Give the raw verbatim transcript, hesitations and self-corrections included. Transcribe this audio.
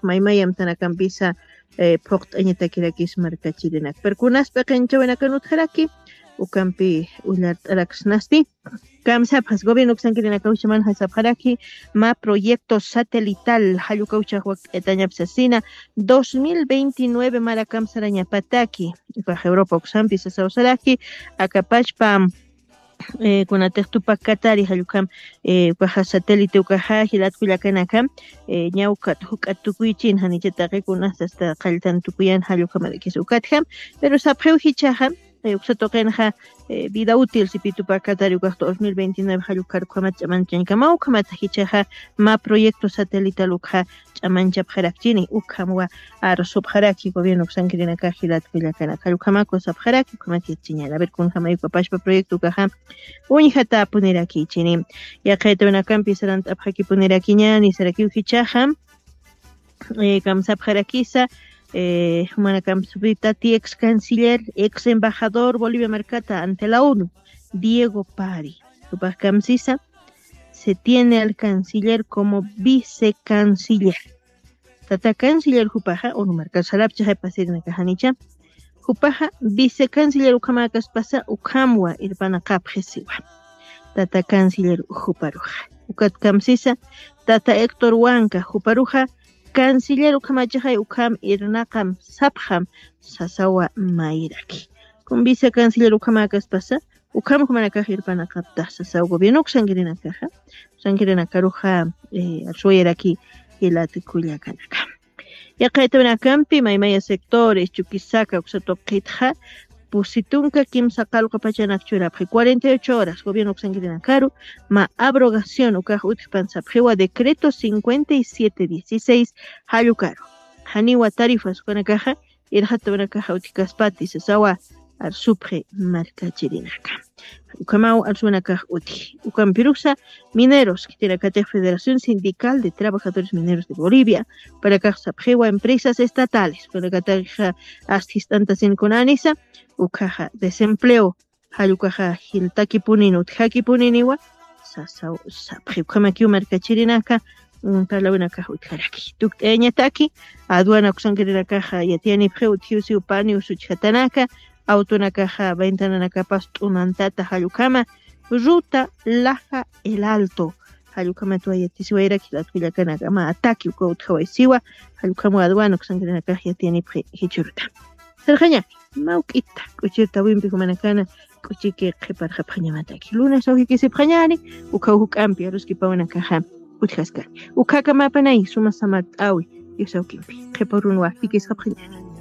maymayamtanakampisa phuqt'añatakirakis markachirinak. Pero kunas p'iqinchawinakan utjaraki ukampi ullart'araksnasti. Kamsapxas gobierno uksankirinakawchamanxa sapxaraki ma proyecto satelital jallukawchax wakt'añapsasina dos mil veintinueve marakamsarañapataki ukax Europa uksampi sasawsaraki akapachpa kunatix tupak katari jallukam ukaxa satélite ukaxa jilatkullakanakam ñawkat juk'at tukuychin janichataqi kunas asta qalltan tukuyan jallukamarakis ukatjam. Pero sapxiw jichaxa uksa tuqinxa vida útil sipi tupak katari ukax dos mil veintinueve jallukar ukhamat ch'amanchañkamaw ukhamata jichaxa ma proyecto satelital ukxa ch'amanchapxarakchini ukhamwa arsupxaraki gobierno uksankirinakax jilatkullakanaka jallukamaku sapxaraki ukhamat yatchiñana ver kunjamay ukapashpa proyecto ukaxa uñjatapunirakïchini. Yaqaytawinakampi sarant'apxakipunirakiñani sarakiw jichaxa kamsapxarakisa jumanakampsupita ti ex canciller ex embajador bolivia markata ante la onu diego pari jupax kamsisa se tiene al canciller como vicecanciller. Tata canciller jupaxa unu markar sarapchaxay pasirinakaxanicha jupaxa vicecanciller ukhamäkaspasa ukhamwa irpanaqapxisiwa. Tata canciller juparuxa ukat kamsisa tata héctor wanka juparuxa canciller ukhamachaxay ukham irnaqam sapxam sasawa mayraki. Kun vicecanciller ukhamäkaspasa ukham jumanakax irpanaqaptax sasaw gobierno uksankirinakaxa uksankirinakaruxa arsuwayaraki jilat kullakanaka. Yaqaytawinakampi maymaya sectores chukisaka uksa tuqitxa pusi tunka kimsa qallqu pachanak churapxi cuarenta y ocho horas gobierno uksankirinakaru ma abrogación ukax utjpan sapxiwa decreto cincuenta y siete dieciséis jallukaru janiwa tarifas ukanakaxa irxatawanakaxa utjkaspati sasawa arsupxi markachirinaka. Ukhamaw arsuwanakax utji ukampirusa mineros khitinakatix federación sindical de trabajadores mineros de bolivia upanakax sapxiwa empresas estatales upanakataxa ast jist'antasin kunanisa ukhaxa desempleo jallukaxa jiltakipunin utjakipuniniwa sasaw sapxi ukhamakiw markachirinaka. Parlawinakax utjaraki tukt'ayañataki aduana uksankirinakaxa yatiyanipxi utjiwsiw pani usuchjatanaka awtunakaxa ventananakapas t'unantata jallukama ruta laja el alto jallukamatwa yatisiwayraki latkullakanaka ma ataki uka utjawaysiwa. Jallukamaw aduana uksankirinakax yatiyanipxi jichuruta sarxaña mawk'ita k'uchirtawimpi jumanakana k'uchiki qhiparxapxañamataki lunes awjikisipxañani. Ukhaw juk'ampi aruskipawanakaxa utjaskani ukhakamapanay suma samart'awi diosawkimpi qhiparunwa jikisxapxañani.